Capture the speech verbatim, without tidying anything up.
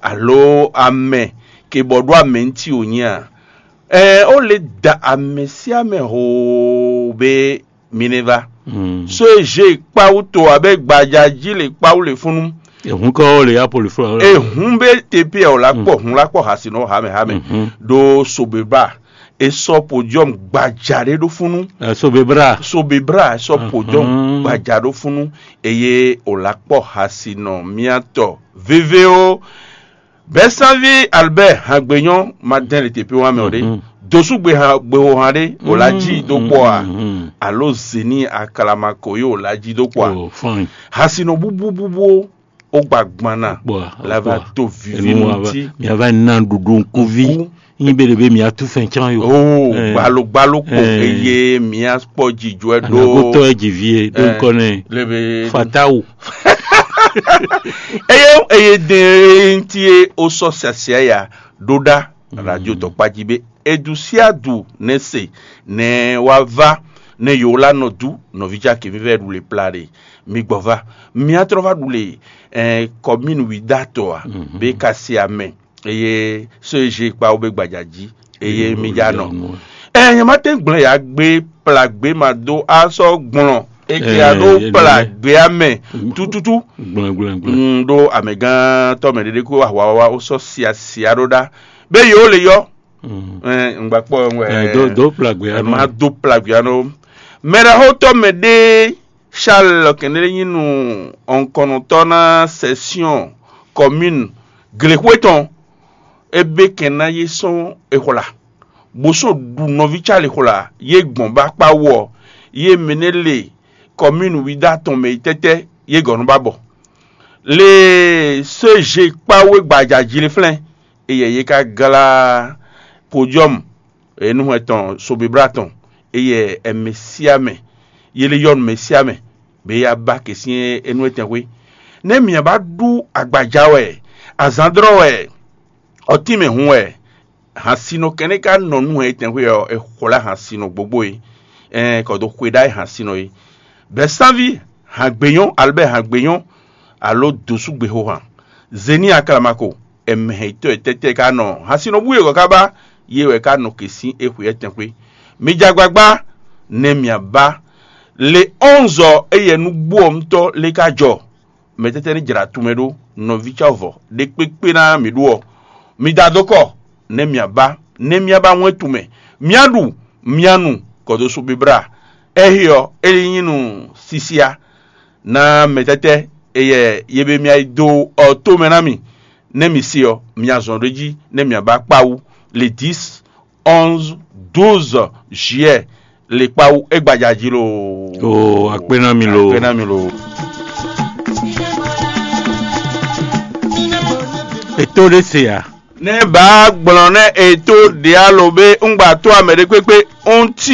alo amɛ ke bɔ ɖó amɛ ŋuti wò nyí a? Ɛɛ, ó lě da amɛ sín amɛ hoo bé mi ní vá. So e zé kpáwú to abɛ gbaja jí le kpáwú le fúnnu. Ehun kɔ le ya poli fúnra. Ehun bɛ te pé ɔ la kpɔ hun la kpɔ hasi nɔ ha mɛ ha mɛ. Ɖo sobeba e sɔ podium gbaja ɖe ɖo fúnnu. Sobebra. Sobebra e sɔ podium gbaja ɖo fúnnu. Eye o la kpɔ hasi nɔ miatɔ veve o. Bɛ́sánví Albert Hangbenyɔ ma dɛn le tepe wa mɛ o ɖe. Dosu gbe ha gbe ho han ɖe o la ji do kpɔ a? Alo zeni akalama ko yi o la ji do kpɔ a? Hasinɔ bubu bubu o gba gbana la va to vivi nunti. Mia va na ɖuɖu nkuvi. Nyi be ɖe be mia tu fɛn can yo. O gbalo gbalo ko eye mia kpɔ jijɔ do. Anagotɔ ɛ ji vie do nkɔ nɛ. Lebe fatawu. Eye eye de nti e o sɔ siasia ya ɖo ɖa radio tɔkpaji be edu siadu ne se ne wa va ne yo la nɔ du nɔvi ja ke vivɛ ɖu le pla ɖe. Mi gbɔ va mia trɔ va ɖu le eh, commune wi da tɔ a be ka se amɛ eye so e je kpa wo be gbaja ji eye mi ja nɔ. Ɛ nyɛ ma tɛn gblẽ ya gbe pla gbe ma do asɔ gblɔn eke ya ɖo pla gbe amɛ tututu. Gblɔn gblɔn gblɔn. Ɖo amɛgãtɔ mɛ ɖeɖe ko ahwawa wo sɔ sia sia ɖo ɖa be yewo le yɔ. Ŋgba kpɔ ŋwɛ. Do do pla gbe ya nɔ. Ma do pla gbe ya nɔ. Mɛ ɖe xo tɔ mɛ ɖe Charles kɛnɖé nyí nu ɔnkɔnɔtɔ na session commune glexwe tɔn. Ebe kɛn ná yé sɔn exwla bó sɔn ɖu nɔví cali xwla yé gbɔn ba kpa wɔ yé mɛ nɛ le commune wida tɔn mɛ yi tɛtɛ yé gɔnu ba bɔ le se je kpa wé gbaja jili flɛn. Eyɛ yé ka glá podium enu hwɛ tɔn sobibla tɔn. Eyɛ ɛmɛ siamɛ yé le yɔnu mɛ siamɛ be ya ba ke sín enu etɛn xwé. Nɛ mia ba ɖu agbaja wɛ, azandrɔ wɛ, ɔtínmɛ hun wɛ, hansinɔ kɛnɛ ka nɔ nú hɛn etɛn xwé ɔ, e xwlá hansinɔ gbogbo e, ɛn kɔ do xwe ɖa e hansinɔ e. Bɛsanvi hangbenyɔ alubɛ hangbenyɔ alo dosu gbehohan zeni aklamako ɛmɛhɛntɔ e tɛtɛ ka nɔ hansinɔ bú e kɔ ka ba ye wɛ ka nɔ ke sín e xwe etɛn xwé. Mi ja gbagba nɛ mia ba le onze ɔ eyɛ nú gbó ɔ ŋutɔ le ka jɔ. Mɛ tɛtɛ ní jra tunmɛ ɖó nɔví cɔvɔ ɖe kpékpé ná mǐ ɖu ɔ, mi da dó kɔ nɛ mia ba nɛ mia ba wɛn tunmɛ, mia ɖu mia nu kɔdó sú bibla. Ɛhí ɔ é nyí nu sisia ná mɛ tɛtɛ eyɛ ye be mia yi dó ɔ tó mɛ ná mi. Nɛ mi se ɔ mia zɔn ɖó jí nɛ mia ba kpawú le dix onze douze juillet le kpawu egbaja jí lo. O akpé ná mi lo. Akpé ná mi lo. Ètò ɖé se ya. Nɛ baa gblɔn nɛ ètò ɖe alo be ŋgba tó amɛ ɖé kpékpé ŋuti